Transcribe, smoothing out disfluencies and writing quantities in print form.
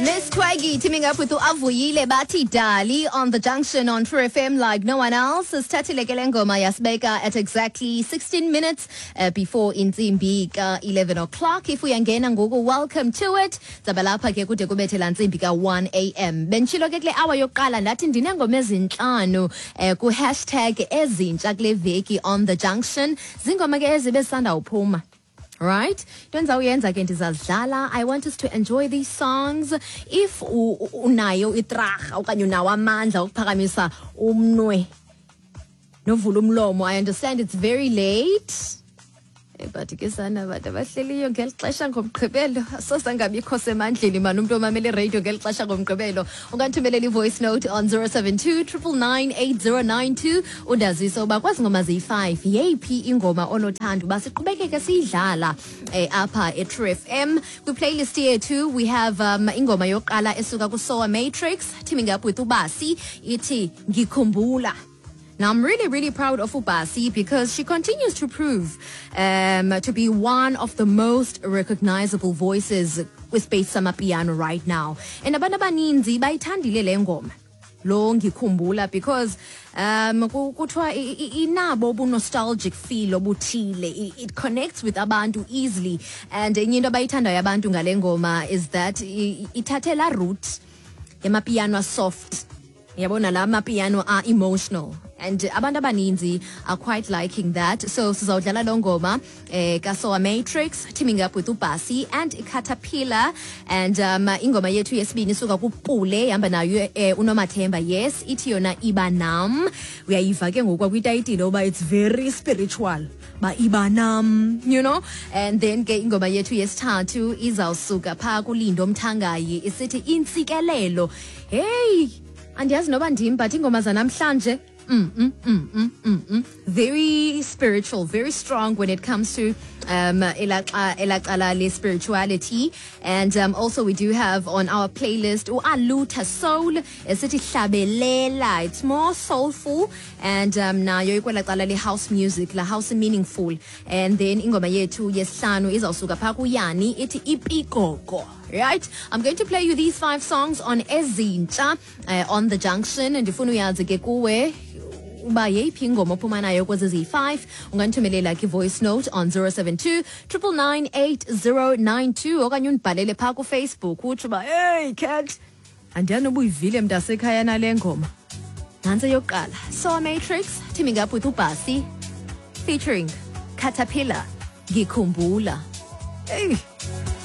Miss Twaggy teaming up with Avuyile bathi Dali on the junction on True FM like no one else. Sithathile ke le ngoma yasibeka at exactly 16 minutes before intsimbi ka 11 o'clock. If uyangena ngoku, welcome to it. Zabalapha ke kude kubethe la ntsimbi ka 1 am. Bentshilo ke kule hour yokuqala ndathi ndinengoma ezintlanu ku #ezintsha kule veki on the junction. Zingoma ke ezibe sanda uphuma. Right? Into endizawuyenza ke, ndizazidlala. I want us to enjoy these songs. If unayo itraha okanye unawo amandla okuphakamisa umnwe novula umlomo, I understand it's very late. But ke sana, bantu abahleliyo ngeli xesha ngoMgqibelo, asoze angabikho semandleni mani umntu omamele iradio ngeli xesha ngoMgqibelo. Ungandithumelela i-voice note on 072 999 8092, undazise uba kwezi ngoma ziyi-5 yeyiphi ingoma onothanda uba siqhubekeke siyidlala apha eTrue FM. Kwiplaylist yethu we have ingoma yokuqala esuka kuSoa Matrix teaming up with uBasi, ithi "Ngikhumbula". Now, I'm really, really proud of Ubasi because she continues to prove to be one of the most recognizable voices kwispace samapiano right now. And abantu abaninzi bayithandile le ngoma lo "Ngikhumbula" because kuthiwa inabo ubu-nostalgic feel obuthile. It connects with abantu easily, and enye into abayithandayo abantu ngale ngoma is that ithathe la route yamapiano soft, yabona, la mapiano are emotional, and abantu abaninzi are quite liking that. So sizawudlala lo ngoma kaSoa Matrix teaming up with uBasi and Caterpillar. And ingoma yethu yesibini isuka kuPule, ihamba nayo uNomathemba, yes, ithi yona "Iba Nam". Uyayiva ke ngoku kwitayitile uba it's very spiritual, ba iba nam. And then ke ingoma yethu yesithathu izawusuka phaa kuLindo Mthangayi, isithi "Intsikelelo". Hey, andiyazi noba ndim, but iingoma zanamhlanje very spiritual, very strong when it comes to elacala le spirituality. And also we do have on our playlist uAluta Soul, esithi "Hlabelela". It's more soulful and nayo ikwelacala le house music, la house meaningful. And then ingoma yethu yesihlanu izawusuka phaa kuYani, ithi "Ipikoko". Right, I'm going to play you these five songs on Ezintsha on the junction. Ndifuna uyazi ke kuwe uba yeyiphi ingoma ophuma nayo kwezi ziyi-5. Ungandithumelela ke voice note on 072 999 8092 okanye undibhalele phaa kuFacebook, utsho uba, "Hey cat, andiyanoba uyivile mntasekhaya nale ngoma." Nantsi eyokuqala, Soa Matrix teaming up with uBasi featuring Caterpillar, "Ngikhumbula". Hey.